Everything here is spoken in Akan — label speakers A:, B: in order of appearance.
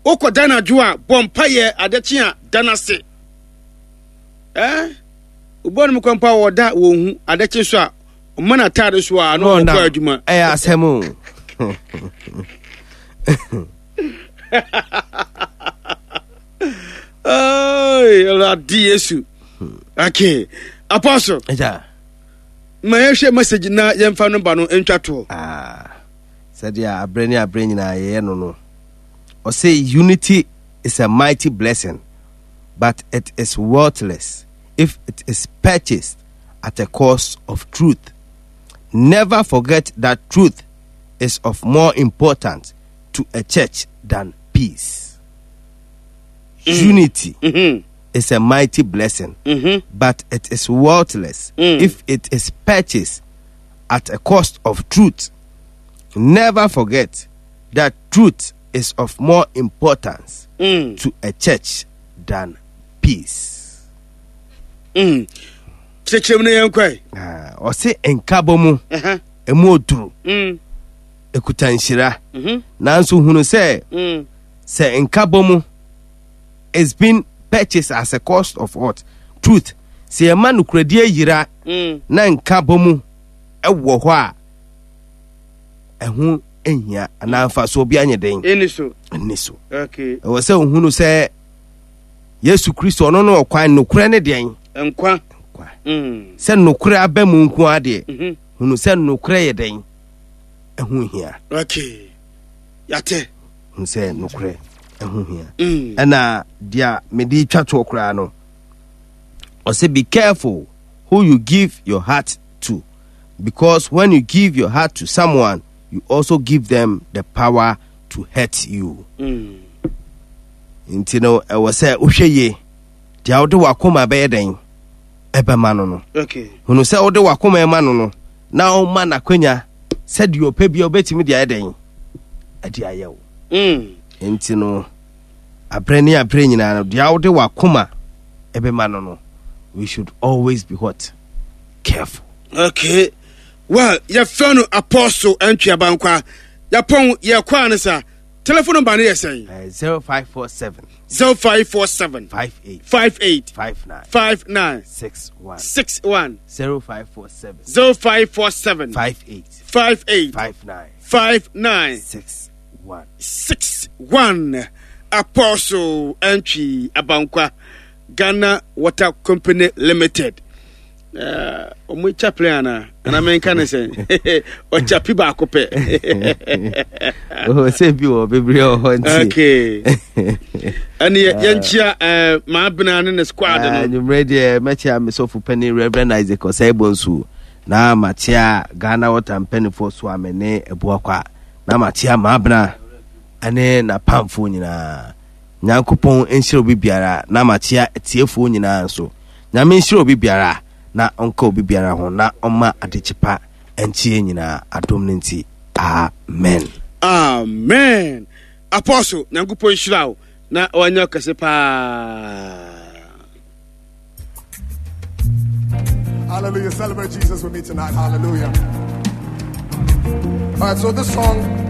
A: Wokɔ da anadwo a, bɔ mpaeɛ adekye a, da no ase. Eh? Obi a kwan pa wɔda wɔn hu adekye so a, ɔma n'ataade so a, na ɔkɔ adwuma.
B: Ɛyɛ asɛm o.
A: Awurade Yesu. Okay. Apostle.
B: Yeah.
A: Ma yɛhwɛ message na yɛmfa no ba no ntwa toɔ.
B: Ah. Sɛdeɛ aberɛ ne aberɛ nyinaa yɛyɛ no no. Ɔsɛ unity is a mighty blessing but it is worthless if it is purchased at a cost of truth. Never forget that truth is of more importance to a church than peace. Unity is a mighty blessing, but it is worthless if it is purchased at a cost of truth. Never forget that truth is of more importance to a church than peace.
A: Kyerɛkyerɛ mu na yɛnkɔe.
B: Ah, ɔse nkabɔ mu ɛmu oduru ɛkuta nhyira nanso hunu sɛ sɛ nkabɔ mu is been purchased as a cost of what truth sɛ yɛma nokoradie yira na nkabɔ mu ɛwɔ hɔ a ɛho nhia anaa mfasoɔ bi anyɛ den
A: ɛni so
B: ɛni so
A: okay
B: ɛwɔ sɛ ohunu sɛ Yesu Kristo ɔno ne ɔkwan nokorɛ ne deɛn
A: nkwa
B: nkwa sɛ nokorɛ aba mu nko ara deɛ hunu sɛ nokorɛ yɛ dɛn ɛho hia
A: okay yate
B: hunu sɛ nokorɛ ɛho hia ɛna deɛ mede twa toɔ koraa no ɔsɛ be careful who you give your heart to because when you give your heart to someone you also give them the power to hurt you mm. Nti no, ɛwɔ sɛ wohwɛ yie deɛ wode w'akoma bɛyɛ dɛn ɛbɛma no no. Hunu sɛ wode w'akoma ɛma no no na woma n'akwanya sɛ deɛ ɔpɛ bia wobɛtumi de ayɛ dɛn ɛde ayɛ wo. Mm. Nti no, aberɛ ne aberɛ nyinaa no deɛ wode w'akoma ɛbɛma no no, we should always be what? Careful.
A: Okay. Well, yɛfrɛ no Apostle Antwi Abankwa. Yɛpɔn yɛkɔ a ne sa. Telephone number no yɛ sɛn?
B: 0547.
A: 0547.
B: 58.
A: 58.
B: 59.
A: 59.
B: 61.
A: 61.
B: 0547.
A: 0547.
B: 58.
A: 58.
B: 59.
A: 59.
B: 61.
A: 61. Apostle Antwi Abankwa, Ghana Water Company Limited. Ɔmo chaplain ana ana menka ne sɛn ɔchapi baako pɛ
B: sɛ bi wɔ bebree wɔ hɔ nti
A: okay ɛne yɛnkyia eh, maabena ne ne squad no
B: anwummerɛ deɛ mɛkyia me sɔfo pani Reverend Isaac Ɔsɛe Bonsu na makyia Ghana Water mpanimfoɔ so a me ne Abuakwa na makyia maabena ne n'apamfoɔ nyinaa Nyankopɔn nhyira obi biara na makyia atiefoɔ nyinaa nso Nyame nhyira obi biara na ɔnka obi biara ho na ɔmma adekye pa nkye yɛn nyinaa adom no nti amen.
A: Amen Apostle Nyankopɔn nhyira wo na wanyɛ wo kɛse paa.
C: Hallelujah. Celebrate Jesus with me tonight. Hallelujah. All right, so this song.